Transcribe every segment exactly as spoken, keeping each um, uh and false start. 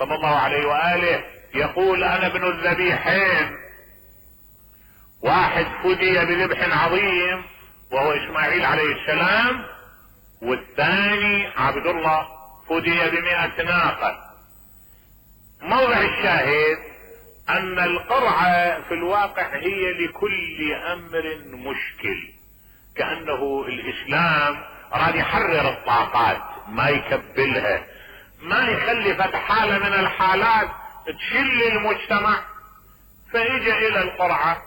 صلى الله عليه وآله يقول انا ابن الذبيحين، واحد فدي بذبح عظيم وهو اسماعيل عليه السلام، والثاني عبد الله فدي بمئة ناقة. موضع الشاهد ان القرعة في الواقع هي لكل امر مشكل، كأنه الاسلام راد يحرر الطاقات ما يكبلها، ما يخلي فتح حالة من الحالات تشل المجتمع. فاجى الى القرعة،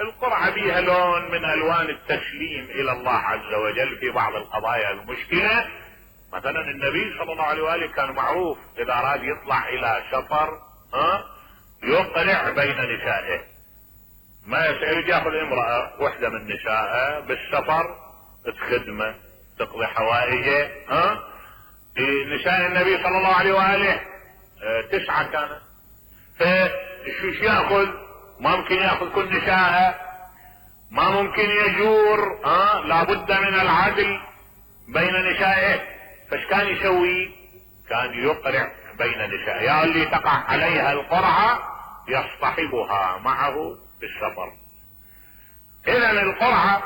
القرعة بيها لون من الوان التسليم الى الله عز وجل في بعض القضايا المشكلة. مثلا النبي صلى الله عليه وآله كان معروف اذا اراد يطلع الى سفر ها يقرع بين نسائه، ما يسأل ياخذ امرأة واحدة من نسائه بالسفر تخدمه تقضي حوائجه. ها نساء النبي صلى الله عليه وآله اه تسعة كانت، فشو ياخذ؟ ما ممكن ياخذ كل نساءه، ما ممكن يجور، ها لابد من العدل بين نسائه. فايش كان يسوي؟ كان يقرع بين نسائه، يا اللي تقع عليها القرعة يصطحبها معه بالسفر. اذا القرعة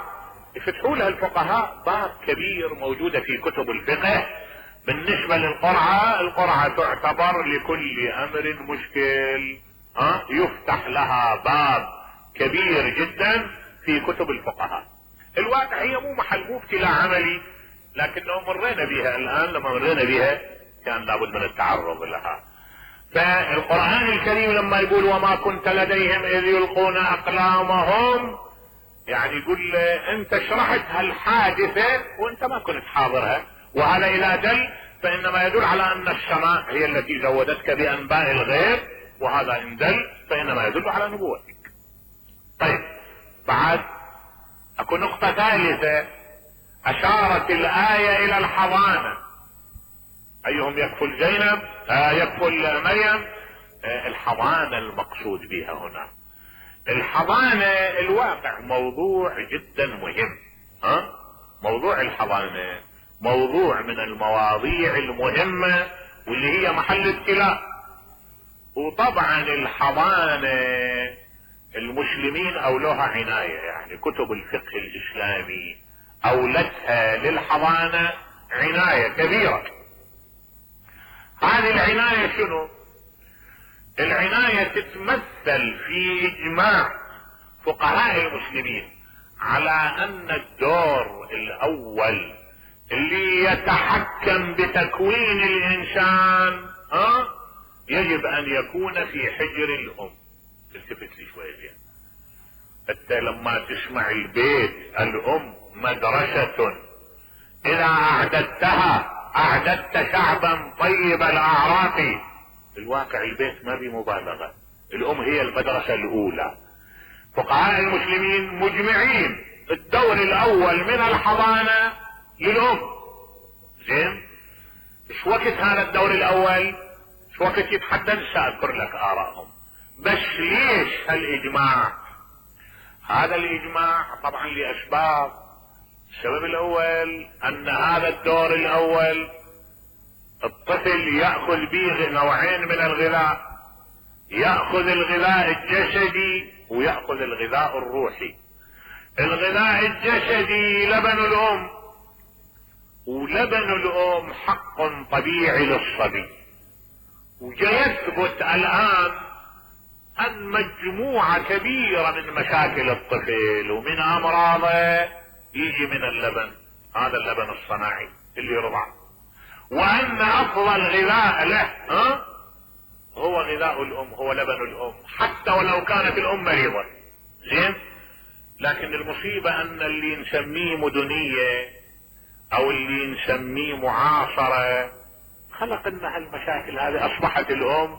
يفتحوا لها الفقهاء باب كبير موجودة في كتب الفقه بالنسبة للقرعة. القرعة تعتبر لكل امر مشكل، ها يفتح لها باب كبير جدا في كتب الفقهاء. الواقع هي مو محل مو ابتلاء عملي، لكنه مرينا بها الان، لما مرينا بها كان لابد من التعرض لها. فالقرآن الكريم لما يقول وما كنت لديهم اذ يلقون اقلامهم، يعني يقول انت شرحت هالحادثة وانت ما كنت حاضرها، وهذا اذا دل فانما يدل على ان السماء هي التي زودتك بانباء الغيب، وهذا ان دل فانما يدل على نبوتك. طيب بعد اكو نقطة ثالثة، اشارت الآية الى الحضانة. ايهم يكفل زينب آه يكفل مريم، آه الحضانة المقصود بها هنا. الحضانة الواقع موضوع جدا مهم، ها موضوع الحضانة موضوع من المواضيع المهمة واللي هي محل ابتلاء. وطبعا الحضانة المسلمين اولوها عناية، يعني كتب الفقه الاسلامي اولتها للحضانة عناية كبيرة. هذه العناية شنو؟ العناية تتمثل في اجماع فقهاء المسلمين على ان الدور الاول اللي يتحكم بتكوين الانسان ها يجب ان يكون في حجر الام. التفت لي شوية زين، انت لما تسمع البيت الام مدرسة، اذا اعددتها اعددت شعبا طيب الاعراق. الواقع البيت ما بمبالغة، الام هي المدرسة الاولى. فقهاء المسلمين مجمعين الدور الاول من الحضانة للام. زين ايش وقت هذا الدور الاول؟ ايش وقت يتحدد؟ ساذكر لك ارائهم. بس ليش هالاجماع؟ هذا الاجماع طبعا لاسباب. السبب الاول ان هذا الدور الاول الطفل يأخذ به نوعين من الغذاء، يأخذ الغذاء الجسدي ويأخذ الغذاء الروحي. الغذاء الجسدي لبن الام، ولبن الام حق طبيعي للصبي. ويثبت الان ان مجموعة كبيرة من مشاكل الطفل ومن امراضه يجي من اللبن، هذا اللبن الصناعي اللي يرضع، وان افضل غذاء له ها هو غذاء الام، هو لبن الام، حتى ولو كانت الام مريضة. زين لكن المصيبة ان اللي نسميه مدنية او اللي نسميه معاصرة خلق لنا هالمشاكل هذه. اصبحت الام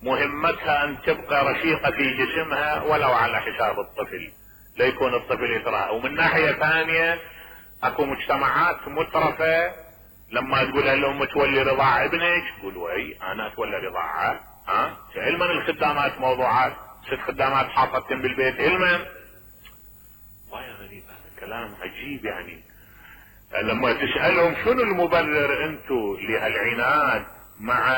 مهمتها ان تبقى رشيقة في جسمها ولو على حساب الطفل، ليكون الطفل يترعى. ومن ناحية ثانية اكو مجتمعات مترفة لما تقول الام تولي رضاع ابنك تقول وي انا اتولى رضاعه. ها علما الخدامات موضوعات، ست خدامات حاطتهم بالبيت علما. ويا غريب هذا كلام عجيب. يعني لما تسألهم شنو المبرر انتو لهالعناد مع